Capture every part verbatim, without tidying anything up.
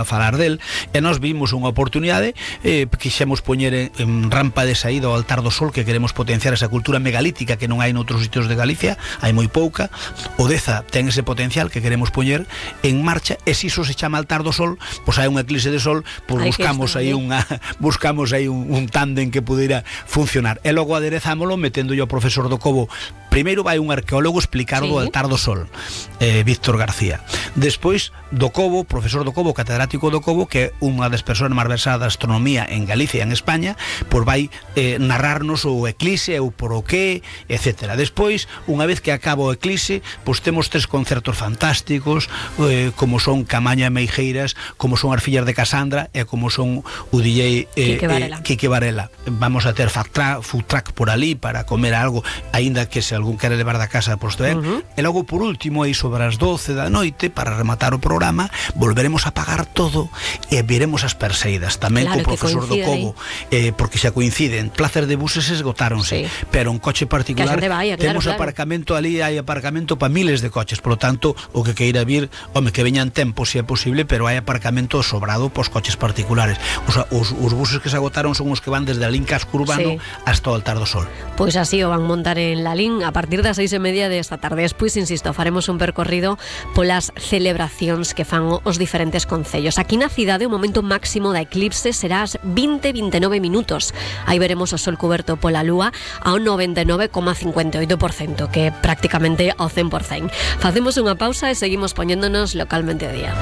a falar del, e nós vimos unha oportunidade, eh, quixemos poñer en, en rampa de saída ao Altar do Sol, que queremos potenciar esa cultura megalítica que non hai noutros sitios de Galicia, hai moi pouca. O Deza ten ese potencial que queremos poñer en marcha, e se iso se chama Altar do Sol, pois hai un eclipse de sol, pois buscamos aí unha buscamos aí un, un tándem que pudera funcionar, e logo aderezámolo meténdolle ao profesor do Cobo. Primeiro vai un arqueólogo explicar sí. o Altar do Sol, eh, Víctor García. Despois do Cobo, profesor do Cobo, catedrático do Cobo, que é unha das persoas máis versadas da astronomía en Galicia e en España, pois vai eh, narrarnos o eclipse, o por o que, etcétera. Despois, unha vez que acaba o eclipse, pois temos tres concertos fantásticos, eh, como son Camaño e Meijeiras, como son as fillas de Casandra e como son o D J eh, Quique Varela. Eh, Quique Varela. Vamos a ter food track, food track por ali para comer algo, aínda que se algún quere levar da casa, posto ben. Uh-huh. E logo, por último, aí sobre as doce da noite, para rematar o programa, volveremos a apagar todo e viremos as perseidas, tamén claro, co profesor do Cobo, eh, porque xa coinciden. Plazas de buses esgotáronse, sí. pero un coche particular, vaya, temos claro, aparcamento claro. ali, hai aparcamento para miles de coches, polo tanto, o que queira vir, home, que veñan tempo, se é posible, pero hai aparcamento sobrado pos coches particulares. O sea, os, os buses que se agotaron son os que van desde a Lín Casco Urbano sí. hasta o Altar do Sol. Pois pues así o van montar en la Lín a partir das seis e media desta tarde. Despois, insisto, faremos un percorrido polas celebracións que fan os diferentes concellos. Aquí na cidade o momento máximo da eclipse será as vinte e nove minutos. Aí veremos o sol cuberto pola lúa ao noventa e nove coma cincuenta e oito por cento, que é prácticamente ao cen por cento. Facemos unha pausa e seguimos poñéndonos localmente a día.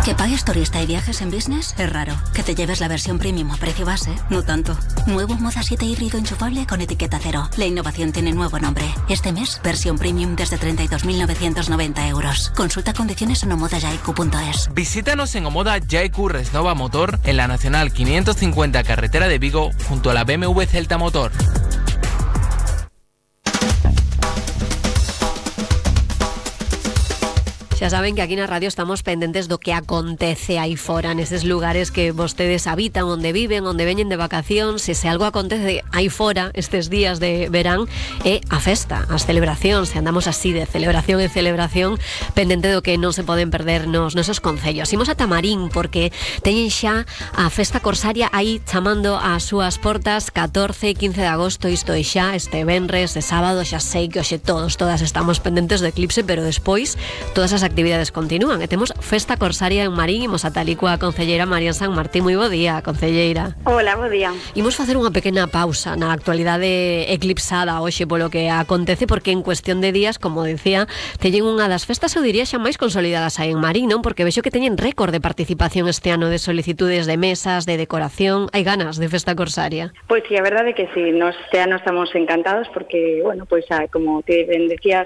¿Que pagues turista y viajes en business? Es raro. ¿Que te lleves la versión premium a precio base? No tanto. Nuevo Moda siete híbrido enchufable con etiqueta cero. La innovación tiene nuevo nombre. Este mes, versión premium desde treinta y dos mil novecientos noventa euros. Consulta condiciones en omoda yaiku punto es. Visítanos en Omoda Yaiku Resnova Motor en la Nacional quinientos cincuenta carretera de Vigo junto a la B M W Celta Motor. Xa saben que aquí na radio estamos pendentes do que acontece aí fora, neses lugares que vostedes habitan, onde viven, onde veñen de vacacións. Se, se algo acontece aí fora estes días de verán, é a festa, as celebracións. Se andamos así de celebración en celebración, pendente do que non se poden perder nos nosos concellos. Imos a Tamarín, porque teñen xa a festa corsaria aí chamando ás súas portas catorce e quince de agosto. Isto é xa este venres, e sábado. Xa sei que hoxe todos, todas estamos pendentes do eclipse, pero despois todas as actividades continúan, e temos festa corsaria en Marín. Imos a tal e coa concelleira María San Martín. Moi bo día, concelleira. Hola, bo día. Imos facer unha pequena pausa na actualidade eclipsada hoxe polo que acontece, porque en cuestión de días, como decía, teñen unha das festas, eu diría, xa máis consolidadas aí en Marín, non? Porque vexo que teñen récord de participación este ano, de solicitudes de mesas, de decoración. Hai ganas de festa corsaria? Pois sí, a verdade é que sí, nos este ano estamos encantados porque, bueno, pois como te ben decías,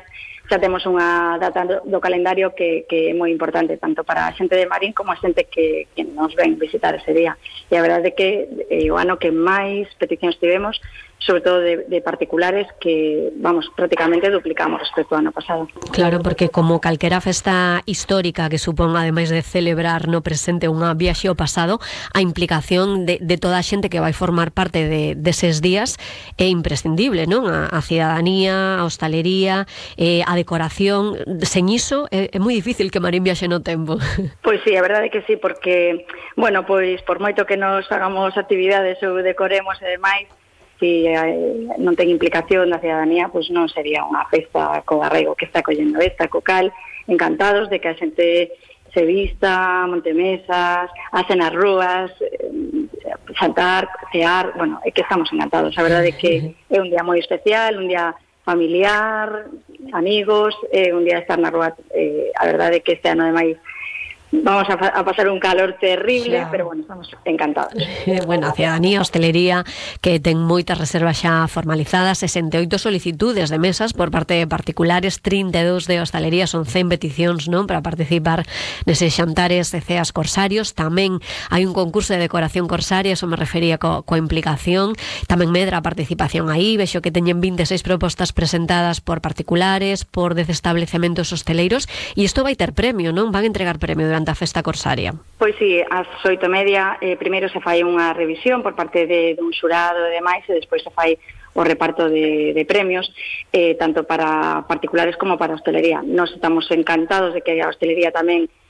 xa temos unha data do calendario que, que é moi importante tanto para a xente de Marín como a xente que, que nos ven visitar ese día. E a verdade é que é o ano que máis peticións tivemos, sobre todo de, de particulares, que, vamos, prácticamente duplicamos respecto ao ano pasado. Claro, porque como calquera festa histórica que supón, ademais de celebrar no presente unha viaxe ao pasado, a implicación de, de toda a xente que vai formar parte de, deses días é imprescindible, non? A, a cidadanía, a hostalería, eh, a decoración. Sen iso é, é moi difícil que Marín viaxe no tempo. Pois sí, a verdade é que sí, porque, bueno, pois por moito que nos hagamos actividades ou decoremos e demais, se eh, non ten implicación da cidadanía, pois non sería unha festa co arraigo que está collendo esta, co cal, encantados de que a xente se vista, monte mesas, hacen as rúas, eh, saltar, cear, bueno, é que estamos encantados. A verdade é que é un día moi especial, un día familiar, amigos, é un día de estar na rúa. Eh, a verdade é que este ano de maio vamos a, a pasar un calor terrible, xa. Pero bueno, estamos encantados. Bueno, a cidadanía, a hostelería, que ten moitas reservas xa formalizadas, sesenta e oito solicitudes de mesas por parte de particulares, trinta e dous de hostalería, son cen peticións, non, para participar neses xantares de ceas corsarios. Tamén hai un concurso de decoración corsaria, eso me refería co, coa implicación. Tamén medra a participación aí, vexo que teñen vinte e seis propostas presentadas por particulares, por dez establecementos hosteleiros, e isto vai ter premio, non? Van entregar premio durante a festa corsaria. Pois sí, ás oito e media eh, primeiro se fai unha revisión por parte de, de un xurado e demais, e despois se fai o reparto de, de premios, eh, tanto para particulares como para a hostelería. Nos estamos encantados de que a hostelería tamén